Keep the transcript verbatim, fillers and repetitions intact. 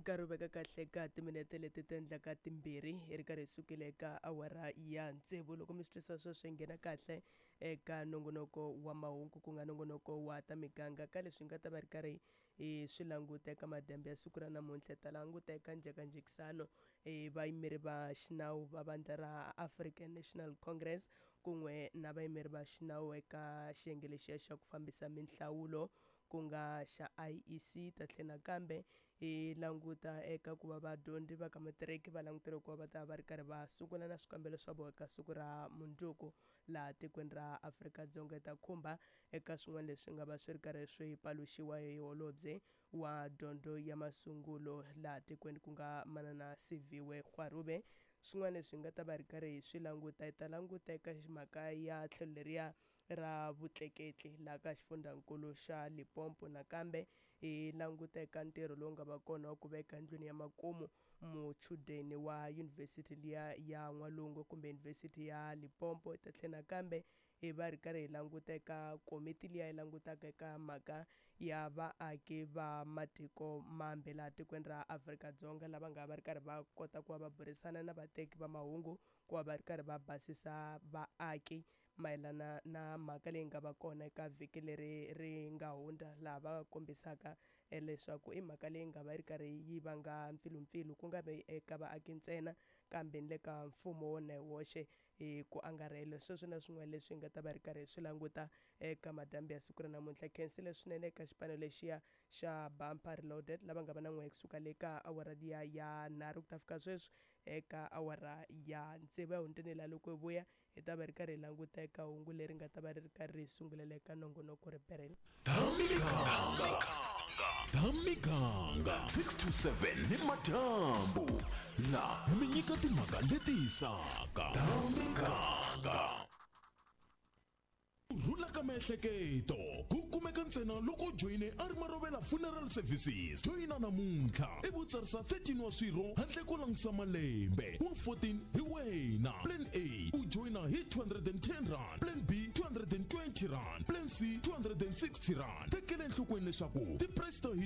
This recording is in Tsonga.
Nkarhi wu veka kahle ka timinete leti ti endlaka timbirhi hi ri karhi hi sukile eka awara ya tsevu. Loko mi swi twisa sweswo, hi nghena kahle eka nongonoko wa mahungu, ku nga nongonoko wa ta miganga. Ka leswi nga ta va ri karhi hi swi languta eka madyambu ya siku ra namuntlha, ta languta eka njhekanjhekisano e vayimeri va xinawu va vandla ra African National Congress kun'we na vayimeri va xinawu eka xiyenge lexiya xa ku fambisa minhlawulo, ku nga xa I E C. Ta tlhela nakambe hi languta eka ku va vadyondzi va ka matiriki va languteriwe ku va va ta va ri karhi va sungula na swikambelo swa vona eka siku ra mundzuku laha tikweni ra Afrika-Dzonga. Ta khumba eka swin'wana leswi nga va swi ri karhi swi paluxiwa hi holobye wa dyondzo ya masungulo laha tikweni, ku nga Manana Siviwe Gwarube. Swin'wana leswi hi nga ta va ri karhi hi swi languta, hi ta languta eka mhaka ya tlhelo leriya ra vutleketli laha ka xifundzankulu xa Limpopo. Nakambe hi languta eka ntirho lowu nga va kona wa ku veka ndlwini ya makumu muchudeni wa yunivhesiti liya ya N'walungu kumbe Yunivhesiti ya Limpopo. Hi ta tlhela nakambe hi va ri karhi hi languta eka komiti liya yi langutaka eka mhaka ya vaaki va matiko mambe laha tikweni ra Afrika-Dzonga, lava nga va ri karhi va kota ku va va burisana na vateki va mahungu ku va va ri karhi va basisa vaaki mayelana na mhaka leyi nga va kona eka vhiki leri ri nga hundza, laha va kombisaka leswaku i mhaka leyi nga va yi ri karhi yi vanga mpfilumpfilu, ku nga vi eka vaaki ntsena kambe ni le ka mfumo wona hi woxe hi ku angarhela. Sweswo na swin'wana leswi hi nga ta va ri karhi hi swi languta eka madyambu ya siku ra namuntlha. Khensile swinene eka xipano lexiya xa Bumper Reloaded lava nga va na n'we kusuka le ka awara liya ya nharhu ku ta fika sweswi eka awara ya tsevu ya hundzeni laha. Loko hi vuya, hi ta va ri karhi hi languta eka hungu leri nga ta va ri ri karhi ri hi sungulela eka nongonoko riperelo. Ta miganga six to seven ni madyambu la mi nyika timhaka leti hisaka. Ta miganga, ku rhula ka miehleketo ku kumeka ntsena loko u joyine a ri Marovela Funeral Services. Joyina namuntlha i vutsarisa thirteen wa swirho handle ko langutisa malembe, wa fourteen hi wena. Plan A, u joyina hi two hundred and ten rand, plan B two hundred and twenty rand, plan C two hundred and sixty rand. Tekela enhlokweni leswaku ti-price ta hina